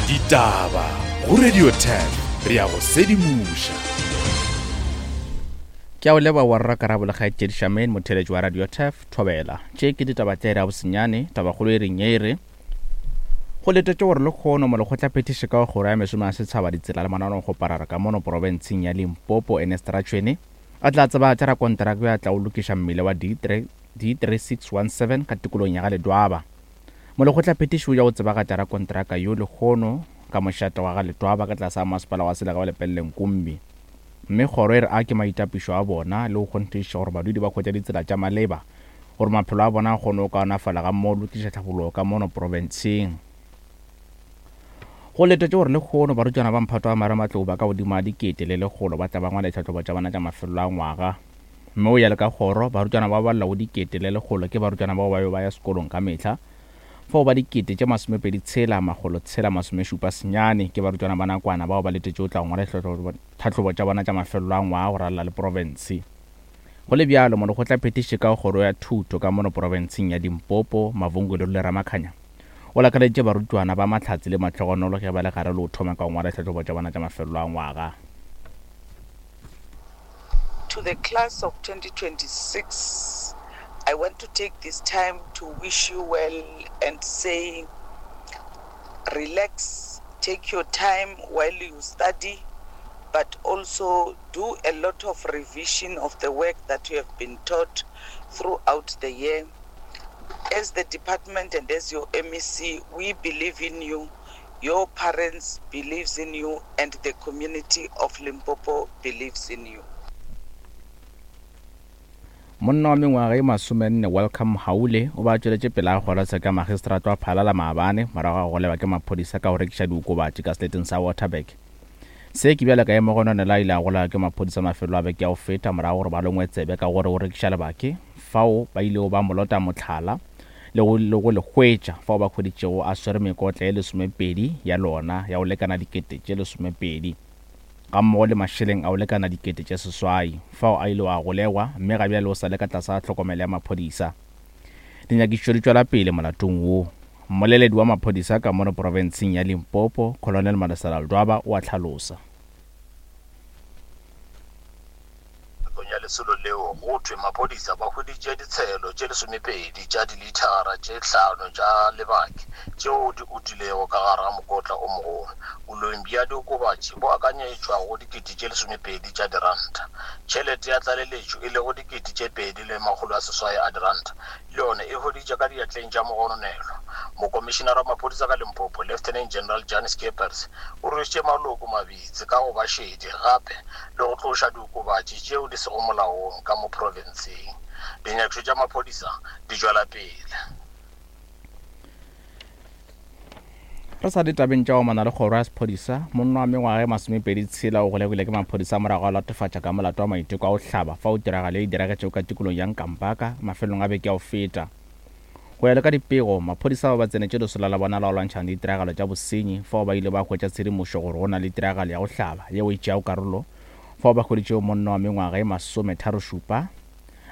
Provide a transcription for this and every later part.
Ditaba go Radio 10 re ya go sedimoša. Ke a o leba wa rra Karabo le kgaetšedi Charmaine motheeletši wa Radio Turf Thobela. Tše ke ditaba tša iri ya bosenyane, tabakgolo e reng ye e re Go letetšwe gore lekgono molekgotlaphethiši ka kgoro ya mešomo ya setšhaba ditsela le mananeo-kgoparara ka mono porofenseng ya Limpopo Ernest Ratšhwene a tla tsebagatša rakonteraka yo a tlago lokiša mmila wa D3 D3617 ka tikologong ya ga Ledwaba. Molekgotlaphethiši o ya go tsebagatša rakonteraka yo lehono ka mošate wa ga Letwaba ka tlase ga masepala wa selega wa Lepelle Nkumbi. Mme kgoro e re a ke maitapišo a bona le go kgonthišiša gore badudi ba hwetša ditsela tša maleba gore maphelo a bona a kgone go kaonafala gammogo le go tliša tlhabologo ka mono profenseng. Go letetšwe gore lehono barutwana ba mphato wa marematlou ba ka godimo ga 1100 ba tla ba ngwala ditlhahlobo tša bona tša mafelelo a ngwaga. Mme o ya le ka kgoro, barutwana ba balelwa go 1100 ke barutwana bao ba be ba ya sekolong ka mehla, fao ba 26 679 ke barutwana ba nakwana bao ba letetšego go tla go ngwala ditlhahlobo tša bona tša mafelelo a ngwaga go ralala le profense. Go le bjalo, molekgotlaphethiši ka kgoro ya thuto ka mono profenseng ya Limpopo, Mavungu Lerule Ramakhanya, o lakaleditše barutwana ba mahlatse le mahlogonolo ge ba le gare le go thoma ka go ngwala ditlhahlobo tša bona tša mafelelo a ngwaga. To the class of 2026, I want to take this time to wish you well and say relax, take your time while you study, but also do a lot of revision of the work that you have been taught throughout the year. As the department and as your MEC, we believe in you. Your parents believes in you and the community of Limpopo believes in you. Monna wa mengwaga e masomenne Welcome Haule o ba tšweletše pele a kgorotsheko ya magistrata wa Phalala maabane morago ga go golegwa ke maphodisa ka go rekiša diokobatši ka seleteng sa Waterberg. Se ke bjale ka ge Mogononelwa a ile a golegwa ke maphodisa mafelo a beke ya go feta morago gore ba longwe tsebe ka gore o rekiša lebake fao ba ilego ba mo lota mohlala le go, le go le hwetša fao ba hweditšego a swere mekotla ye lesomepedi ya lona ya go lekana dikete tše lesomepedi gammogo le mašeleng a go lekana dikete tše seswai fao a ilego a golegwa mme ga bjale o sa le ka tlase ga tlhokomelo ya maphodisa. Dinyakišišo di tšwela pele molatong wo. Mmoleledi wa maphodisa ka mono profenseng ya Limpopo, Colonel Malesela Ledwaba o a hlalosa. Nakong ya lesolo leo, go thwe maphodisa ba hweditše ditshelo tše lesomepedi tša dilithara tše hlano tša lebake tšeo di utilego ka gare ga mokotla o mogolo. Boleng bja diokobatši bo akanyetšwa go dikete tše lesomepedi tša diranta. Tšhelete ya tlaleletšo e lego dikete tše pedi le makgolo a seswai a diranta le yona e hweditše ka diatleng tša mogononelwa. Mokomišinara wa maphodisa ka Limpopo, Lieutenant General Jan Scheepers, o rwešitše maloko mabitsi ka go ba šedi gape le go tloša diokobatši tšeo di sego molaong ka mo profenseng. Dinyakišo tša maphodisa di tšwela pele. Re sa le tabeng tša go amana le kgoro ya sephodisa, monna wa mengwaga e masomepedi tshela o golegilwe ke maphodisa morago ga go latofatša ka molato wa maiteko a go hlaba fao tiragalo ye e diragetšego ka tikolong ya Nkampaka mafelong a beke ya go feta. Go ya le ka dipego, maphodisa ba ba tsenetše lesola la bona la go lwantšhana le ditiragalo tša bosenyi fao ba ile ba hwetša tshedimošo gore go na le tiragalo ya go hlaba yeo e tšeago karolo fao ba hweditšego monna wa mengwaga e masometharošupa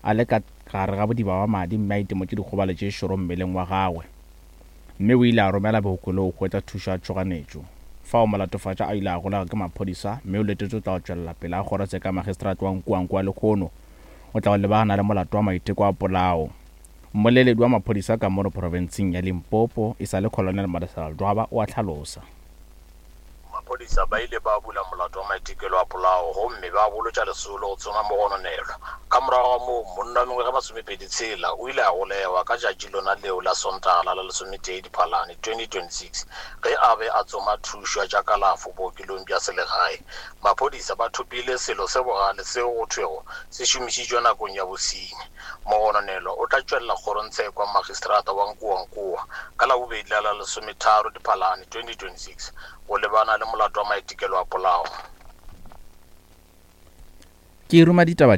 a le ka gare ga bodiba ba madi mme a itemotše dikgobalo tše šoro mmeleng wa gagwe. Mme o ile a romela bookelong go hwetša thušo ya tšhoganetšo. Fao molatofatšwa a ile a golegwa ke maphodisa mme o letetšwe go tla go tšwelela pele ga kgorotsheko ya magistrate wa Nkuankua lehono. O tla go lebagana le molato wa maiteko a polao. Mmoleledi wa maphodisa ka mono profenseng ya Limpopo e sa le Colonel Madisela Ledwaba o a hlalosa. Maphodisa ba ile ba bula molato wa maitekelo a polao gomme ba bolotša lesolo go tsoma mogononelwa. Ka morago ga moo, monna wa mengwaga e masomepedi tshela o ile a golegwa ka tšatši lona leo la Sontaga la la lesometee Diphalane 2026 ge a be a tsoma thušo ya tša kalafo bookelong bja selegae. Maphodisa ba thopile selo se bogale seo go thwego se šomišitšwe nakong ya bosenyi. Mogononelwa o tla tšwelela kgorongtsheko ya Magistrata wa Nkowankowa ka Labobedi la la lesometharo Diphalane 2026 go lebana le molato wa maitekelo a polao. Ke ruma ditaba.